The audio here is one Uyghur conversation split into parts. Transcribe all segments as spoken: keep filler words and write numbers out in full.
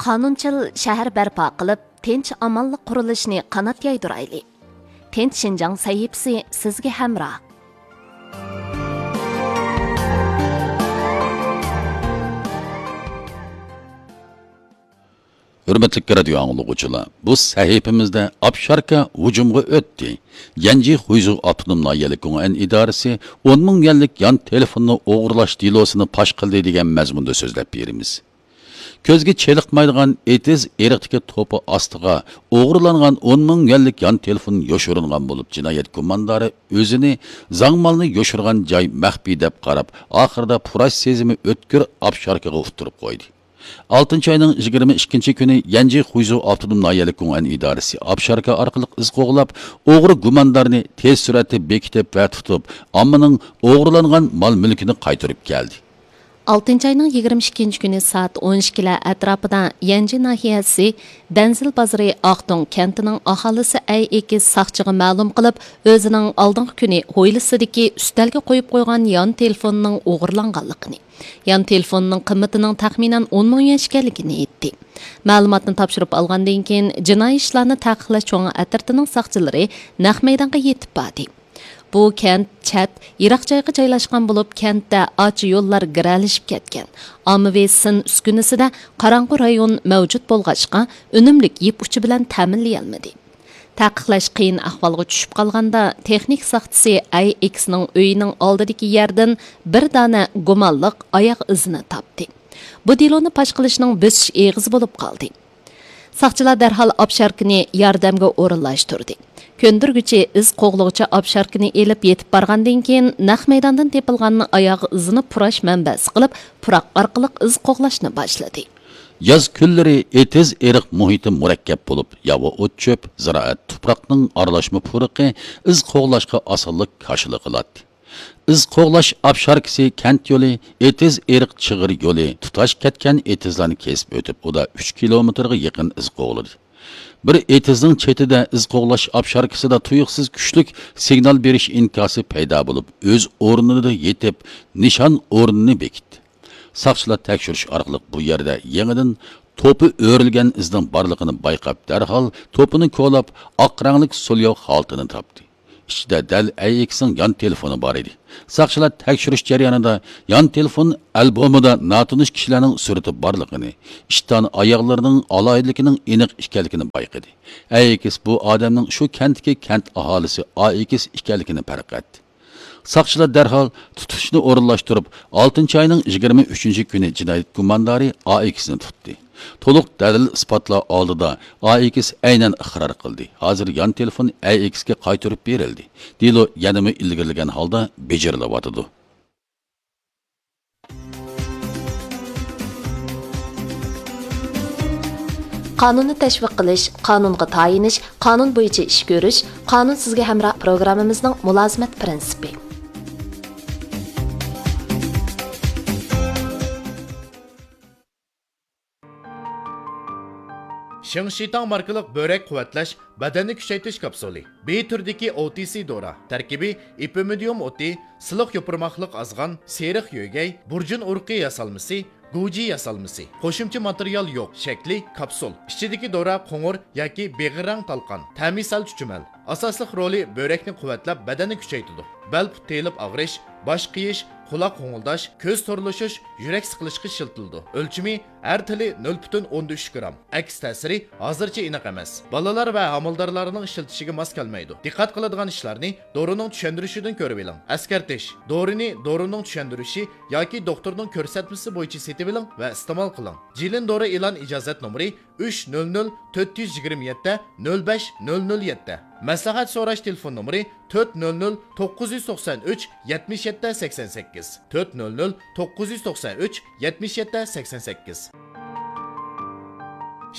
قانۇنچىل شەھەر بەرپا قىلىپ، تىنچ-ئامانلىق قۇرۇلۇشىنى قانات يايدۇرايلى. تىنچ شىنجاڭ سەھىپىسى سىزگە ھەمراھ. ھۆرمەتلىك رادىيو ئاڭلىغۇچىلار، بۇ سەھىپىمىزدە ئاپشاركا ھۇجۇمغا ئۆتتى. يەنجى خۇيزۇ ئاپتونوم ناھىيەلىك گۇڭئەن ئىدارىسى ئون مىڭ يۈەنلىك يان تېلېفوننى ئوغرىلاش دېلوسىنى پاش قىلدى دېگەن مەزمۇندا سۆزلەپ بېرىمىز. كۆزگە چېلىقمايدىغان ئېتىز ئېرىقتىكى توپا ئاستىغا ئوغرىلانغان ئون مىڭ يۈەنلىك يان تېلېفون يوشۇرۇنغان بولۇپ، جىنايەت گۇماندارى ئۆزىنى زاڭمالنى يوشۇرغان جاي مەخپىي دەپ قاراپ، ئاخىرىدا پۇراش سېزىمى ئۆتكۈر ئاپشاركىغا ئۇتتۇرۇپ قويدى. ئالتىنچى ئاينىڭ يىگىرمە ئىككىنچى كۈنى يەنجى خۇيزۇ ئاپتونوم ناھىيەلىك گۇڭئەن ئىدارىسى ئاپشاركا ئارقىلىق ئىز قوغلاپ، ئوغرى گۇماندارنى تېز سۈرئەتتە بېكىتىپ ۋە تۇتۇپ، ئاممىنىڭ ئوغرىلانغان مال-مۈلكىنى قايتۇرۇپ كەلدى. ئالتىنچى ئاينىڭ يىگىرمە ئىككىنچى كۈنى سائەت ئون ئىككىلەر ئەتراپىدا يەنجى ناھىيەسى دەنزىل بازىرى ئاقدۆڭ كەنتىنىڭ ئاھالىسى ئەي ئېكىس ساقچىغا مەلۇم قىلىپ، ئۆزىنىڭ ئالدىنقى كۈنى ھويلىسىدىكى ئۈستەلگە قويۇپ قويغان يان تېلېفونىنىڭ ئوغرىلانغانلىقىنى، يان تېلېفوننىڭ قىممىتىنىڭ تەخمىنەن ئون مىڭ يۈەن ئىكەنلىكىنى ئېيتتى. مەلۇماتنى تاپشۇرۇپ ئالغاندىن كېيىن، جىنايى ئىشلارنى تەقىقلەش چوڭ ئەترىتىنىڭ ساقچىلىرى نەق مەيدانغا يېتىپ باردى. بۇ كەنت چەت، يىراق جايغا جايلاشقان بولۇپ، كەنتتە ئاچا يوللار گىرەلىشىپ كەتكەن. ئاممىۋى سىن ئۈسكۈنىسىدە قاراڭغۇ رايون مەۋجۇت بولغاچقا، ئۈنۈملۈك يىپ ئۇچى بىلەن تەمىنلىيەلمىدى. تەقىقلەش قىيىن ئەھۋالغا چۈشۈپ قالغاندا، تېخنىك ساقچىسى ئەي ئېكىسنىڭ ئۆيىنىڭ ئالدىدىكى يەردىن بىر دانە گۇمانلىق ئاياغ ئىزىنى تاپتى. بۇ دېلونى پاش قىلىشنىڭ بۆسۈش ئېغىزى بولۇپ قالدى. ساقچىلار دەرھال ئاپشاركىنى ياردەمگە ئورۇنلاشتۇردى. كۆندۈرگۈچى ئىز قوغلىغۇچى ئاپشاركىنى ئېلىپ يېتىپ بارغاندىن كېيىن، نەق مەيداندىن تېپىلغان ئاياغ ئىزىنى پۇراش مەنبەسى قىلىپ، پۇراق ئارقىلىق ئىز قوغلاشنى باشلىدى. ياز كۈنلىرى ئېتىز ئېرىق مۇھىتى مۇرەككەپ بولۇپ، ياۋا ئوت-چۆپ، زىرائەت تۇپراقنىڭ ئارىلاشما پۇرىقى ئىز قوغلاشقا ئاسانلىق كاشىلا قىلاتتى. ئىز قوغلاش ئاپشاركىسى كەنت يولى، ئېتىز ئېرىق چىغىر يولى تۇتاش كەتكەن ئېتىزلارنى كېسىپ ئۆتۈپ، ئۇدا ئۈچ كىلومېتىرغا يېقىن ئىز قوغلىدى. بىر ئېتىزنىڭ چېتىدە ئىز قوغلاش ئاپشاركىسىدا تۇيۇقسىز كۈچلۈك سىگنال بېرىش ئىنكاسى پەيدا بولۇپ، ئۆز ئورنىدا يېتىپ، نىشان ئورنىنى بېكىتتى. ساقچىلار تەكشۈرۈش ئارقىلىق بۇ يەردە يېڭىدىن توپا ئۆرۈلگەن ئىزنىڭ بارلىقىنى بايقاپ، دەرھال توپىنى كولاپ، ئاق رەڭلىك سولياۋ خالتىنى تاپتى. ئىچىدە دەل ئەي ئېكسنىڭ يان تېلېفونى بار ئىدى. ساقچىلار تەكشۈرۈش جەريانىدا يان تېلېفون ئالبومىدا ناتونۇش كىشىلەرنىڭ سۈرىتى بارلىقىنى، ئىشتان ئاياغلىرىنىڭ ئالاھىدىلىكىنىڭ ئېنىق ئىكەنلىكىنى بايقىدى. ئەي ئېكس بۇ ئادەمنىڭ شۇ كەنتتىكى كەنت ئاھالىسى ئا ئېكس ئىكەنلىكىنى پەرق ئەتتى. ساقچىلار دەرھال تۇتۇشنى ئورۇنلاشتۇرۇپ، ئالتىنچى ئاينىڭ يىگىرمە ئۈچىنچى كۈنى جىنايەت گۇماندارى ئا ئېكسنى تۇتتى. تولۇق دەلىل-ئىسپاتلار ئالدىدا ئا ئېكس ئەينەن ئىقرار قىلدى. ھازىر يان تېلېفون ئەي ئېكسكە قايتۇرۇپ بېرىلدى. دېلو يەنىمۇ ئىلگىرىلىگەن ھالدا بېجىرىلىۋاتىدۇ. قانۇننى تەشۋىق قىلىش، قانۇنغا تايىنىش، قانۇن بويىچە ئىش كۆرۈش، قانۇن سىزگە ھەمراھ پروگراممىمىزنىڭ مۇلازىمەت پىرىنسىپى. شىڭشىتاڭ ماركىلىق بۆرەك قۇۋۋەتلەش بەدەننى كۈچەيتىش كاپسۇلى. بى تۈرىدىكى ئو تى سى دورا. تەركىبى ئېپىمىدىيۇم ئوتى، سىلىق يوپۇرماقلىق ئازغان، سېرىق يۆگەي، بۇرجۇن ئۇرۇقى ياسالمىسى، گۇجى ياسالمىسى. قوشۇمچە ماتېرىيال يوق. شەكلى كاپسۇل. ئىچىدىكى دورا قوڭۇر ياكى بېغىر رەڭ تالقان. تەمى سەل چۈچۈمەل. ئاساسلىق رولى بۆرەكنى قۇۋۋەتلەپ، بەدەننى كۈچەيتىدۇ. بەل پۇت تېيىلىپ ئاغرىش، باش قېيىش، قۇلاق غوڭۇلداش، كۆز تورلىشىش، يۈرەك سىقىلىشقا ئىشلىتىلىدۇ. ئۆلچىمى ئەر تىلى نۆل پۈتۈن ئوندىن ئۈچ گرام. ئەكس تەسىرى ھازىرچە ئېنىق ئەمەس. بالىلار ۋە ھامىلىدارلارنىڭ ئىشلىتىشىگە ماس كەلمەيدۇ. دىققەت قىلىدىغان ئىشلارنى دورىنىڭ چۈشەندۈرۈشىدىن كۆرۈۋېلىڭ. ئەسكەرتىش: دورىنى دورىنىڭ چۈشەندۈرۈشى ياكى دوختۇرنىڭ كۆرسەتمىسى بويىچە سېتىۋېلىڭ ۋە ئىستېمال قىلىڭ. جىلىن دورا ئېلان ئىجازەت نومۇرى ئۈچ نۆل نۆل تۆت يۈز يىگىرمە يەتتە نۆل بەش نۆل نۆل يەتتە. مەسلىھەت سوراش تېلېفون نومۇرى تۆت نۆل نۆل توققۇز يۈز توقسان ئۈچ يەتمىش يەتتە سەكسەن سەككىز، تۆت نۆل نۆل توققۇز يۈز توقسان ئۈچ يەتمىش يەتتە سەكسەن سەككىز.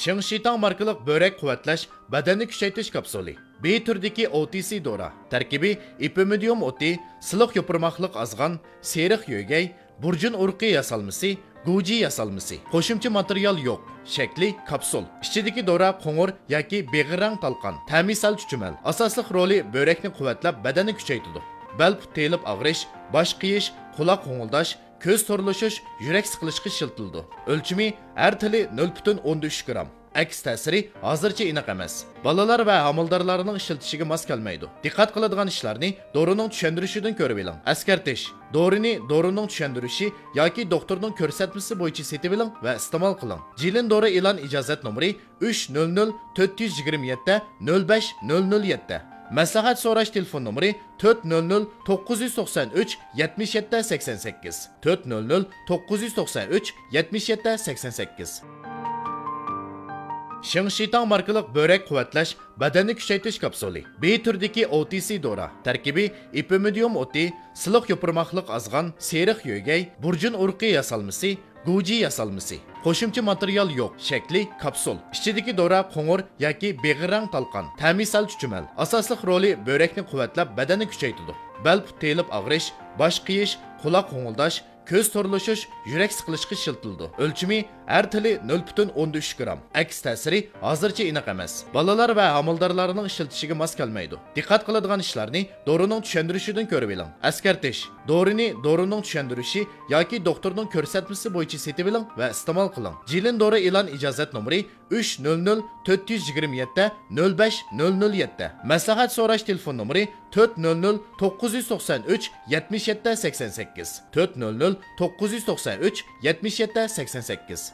شىڭشىتاڭ ماركىلىق بۆرەك قۇۋۋەتلەش بەدەننى كۈچەيتىش كاپسۇلى. بى تۈرىدىكى ئو تى سى دورا. تەركىبى ئېپىمىدىيۇم ئوتى، سىلىق يوپۇرماقلىق ئازغان، سېرىق يۆگەي، بۇرجۇن ئۇرۇقى ياسالمىسى، گۇجى ياسالمىسى. قوشۇمچە ماتېرىيال يوق. شەكلى كاپسۇل. ئىچىدىكى دورا قوڭۇر ياكى بېغىر رەڭ تالقان. تەمى سەل چۈچۈمەل. ئاساسلىق رولى بۆرەكنى قۇۋۋەتلەپ، بەدەننى كۈچەيتىدۇ. بەل پۇت تېيىلىپ ئاغرىش، باش قېيىش، قۇلاق غوڭۇلداش، كۆز تورلىشىش، يۈرەك سىقىلىشقا ئىشلىتىلىدۇ. ئۆلچىمى ھەر تىلى نۆل پۈتۈن ئوندىن ئۈچ گرام. ئەكس تەسىرى ھازىرچە ئېنىق ئەمەس. بالىلار ۋە ھامىلىدارلارنىڭ ئىشلىتىشىگە ماس كەلمەيدۇ. دىققەت قىلىدىغان ئىشلارنى دورىنىڭ چۈشەندۈرۈشىدىن كۆرۈۋېلىڭ. ئەسكەرتىش: دورىنى دورىنىڭ چۈشەندۈرۈشى ياكى دوختۇرنىڭ كۆرسەتمىسى بويىچە سېتىۋېلىڭ ۋە ئىستېمال قىلىڭ. جىلىن دورا ئېلان ئىجازەت نومۇرى ئۈچ نۆل نۆل تۆت يۈز يىگىرمە يەتتە نۆل بەش نۆل نۆل يەتتە. مەسلىھەت سوراش تېلېفون نومۇرى تۆت نۆل نۆل توققۇز يۈز توقسان ئۈچ يەتمىش يەتتە سەكسەن سەككىز، تۆت نۆل نۆل توققۇز يۈز توقسان ئۈچ يەتمىش يەتتە سەكسەن سەككىز. شىڭشىتاڭ ماركىلىق بۆرەك قۇۋۋەتلەش، بەدەننى كۈچەيتىش كاپسۇلى. بى تۈرىدىكى ئو تى سى دورا. تەركىبى: ئېپىمىدىيۇم ئوتى، سىلىق يوپۇرماقلىق ئازغان، سېرىق يۆگەي، بۇرجۇن ئۇرۇقى ياسالمىسى، گۇجى ياسالمىسى. قوشۇمچە ماتېرىيال يوق. شەكلى: كاپسۇل. ئىچىدىكى دورا قوڭۇر ياكى بېغىر رەڭ تالقان. تەمى سەل چۈچۈمەل. ئاساسلىق رولى: بۆرەكنى قۇۋۋەتلەپ، بەدەننى كۈچەيتىدۇ. بەل پۇت تېيىلىپ ئاغرىش، باش قېيىش، قۇلاق غوڭۇلداش، كۆز تورلىشىش، يۈرەك سىقىلىشقا ئىشلىتىلىدۇ. ئۆلچىمى: ھەر تىلى نۆل پۈتۈن ئوندىن ئۈچ گرام. ئەكس تەسىرى ھازىرچە ئېنىق ئەمەس. بالىلار ۋە ھامىلىدارلارنىڭ ئىشلىتىشىگە ماس كەلمەيدۇ. دىققەت قىلىدىغان ئىشلارنى دورىنىڭ چۈشەندۈرۈشىدىن كۆرۈۋېلىڭ. ئەسكەرتىش: دورىنى دورىنىڭ چۈشەندۈرۈشى ياكى دوختۇرنىڭ كۆرسەتمىسى بويىچە سېتىۋېلىڭ ۋە ئىستېمال قىلىڭ. جىلىن دورا ئېلان ئىجازەت نومۇرى ئۈچ نۆل نۆل تۆت يۈز يىگىرمە يەتتە نۆل بەش نۆل نۆل يەتتە. مەسلىھەت سوراش تېلېفون نومۇرى تۆت نۆل نۆل توققۇز يۈز توقسان ئۈچ يەتمىش يەتتە سەكسەن سەككىز، تۆت نۆل نۆل توققۇز يۈز توقسان ئۈچ يەتمىش يەتتە سەكسەن سەككىز.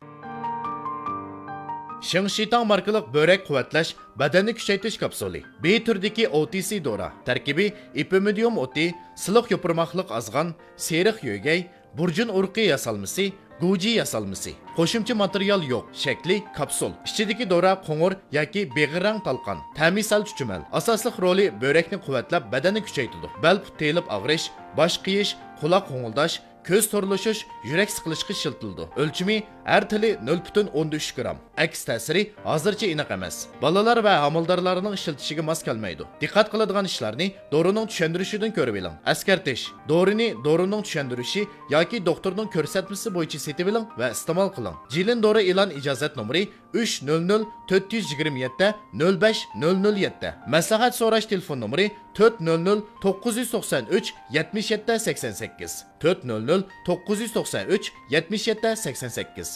شىڭشىتاڭ ماركىلىق بۆرەك قۇۋۋەتلەش، بەدەننى كۈچەيتىش كاپسۇلى. بى تۈرىدىكى ئو تى سى دورا. تەركىبى: ئېپىمىدىيۇم ئوتى، سىلىق يوپۇرماقلىق ئازغان، سېرىق يۆگەي، بۇرجۇن ئۇرۇقى ياسالمىسى، گۇجى ياسالمىسى. قوشۇمچە ماتېرىيال يوق. شەكلى: كاپسۇل. ئىچىدىكى دورا قوڭۇر ياكى بېغىر رەڭ تالقان. تەمى سەل چۈچۈمەل. ئاساسلىق رولى: بۆرەكنى قۇۋۋەتلەپ، بەدەننى كۈچەيتىدۇ. بەل پۇت تېيىلىپ ئاغرىش، باش قېيىش، قۇلاق غوڭۇلداش، كۆز تورلىشىش، يۈرەك سىقىلىشقا ئىشلىتىلىدۇ. ئۆلچىمى: ھەر تىلى نۆل پۈتۈن ئوندىن ئۈچ گرام. ئەكس تەسىرى ھازىرچە ئېنىق ئەمەس. بالىلار ۋە ھامىلىدارلارنىڭ ئىشلىتىشىگە ماس كەلمەيدۇ. دىققەت قىلىدىغان ئىشلارنى دورىنىڭ چۈشەندۈرۈشىدىن كۆرۈۋېلىڭ. ئەسكەرتىش: دورىنى دورىنىڭ چۈشەندۈرۈشى ياكى دوختۇرنىڭ كۆرسەتمىسى بويىچە سېتىۋېلىڭ ۋە ئىستېمال قىلىڭ. جىلىن دورا ئېلان ئىجازەت نومۇرى ئۈچ نۆل نۆل تۆت يۈز يىگىرمە يەتتە نۆل بەش نۆل نۆل يەتتە. مەسلىھەت سوراش تېلېفون نومۇرى تۆت نۆل نۆل توققۇز يۈز توقسان ئۈچ يەتمىش يەتتە سەكسەن سەككىز، تۆت نۆل نۆل توققۇز يۈز توقسان ئۈچ يەتمىش يەتتە سەكسەن سەككىز.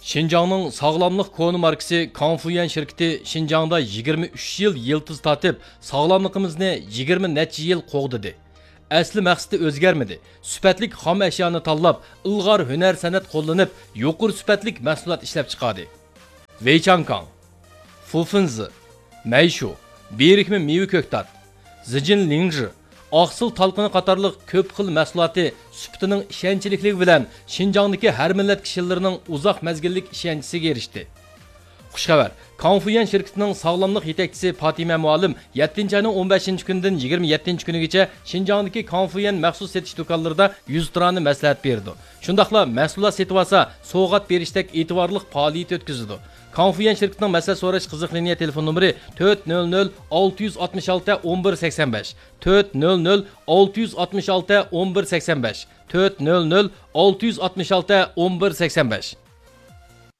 شىنجاڭنىڭ ساغلاملىق كونا ماركىسى كاڭفۇيۈەن شىركىتى شىنجاڭدا يىگىرمە ئۈچ يىل يىلتىز تارتىپ، ساغلاملىقىمىزنى يىگىرمە نەچچە يىل قوغدىدى. ئەسلى مەقسىتى ئۆزگەرمىدى. سۈپەتلىك خام ئەشيانى تاللاپ، ئىلغار ھۈنەر سەنئەت قوللىنىپ، يۇقىرى سۈپەتلىك مەھسۇلات ئىشلەپ چىقاردى. ۋېيچاڭكاڭ، فۇفېنزى، مەيشۇ، بىرىكمە مېۋە كۆكتات، زىجىن لىڭژى، ئاقسىل تالقىنى قاتارلىق كۆپ خىل مەھسۇلاتى سۈپىتىنىڭ ئىشەنچلىكلىكى بىلەن شىنجاڭدىكى ھەر مىللەت كىشىلىرىنىڭ ئۇزاق مەزگىللىك ئىشەنچىسىگە ئېرىشتى. خۇش خەۋەر! كاڭفۇيۈەن شىركىتىنىڭ ساغلاملىق يېتەكچىسى پاتىمە مۇئەللىم يەتتىنچى ئاينىڭ ئون بەشىنچى كۈنىدىن يىگىرمە يەتتىنچى كۈنىگىچە شىنجاڭدىكى كاڭفۇيۈەن مەخسۇس سېتىش دۇكانلىرىدا يۈزتۇرانە مەسلىھەت بېرىدۇ. شۇنداقلا مەھسۇلات سېتىۋالسا، سوۋغات بېرىشتەك ئېتىبارلىق پائالىيىتى ئۆتكۈزىدۇ. كاڭفۇيۈەن شىركىتىنىڭ مەسلىھەت سوراش قىزىق لىنىيە تېلېفون نومۇرى تۆت نۆل نۆل ئالتە يۈز ئاتمىش ئالتە ئون بىر سەكسەن بەش، تۆت نۆل نۆل ئالتە يۈز ئاتمىش ئالتە ئون بىر سەكسەن بەش، تۆت نۆل نۆل ئالتە يۈز ئاتمىش ئالتە ئون بىر سەكسەن بەش.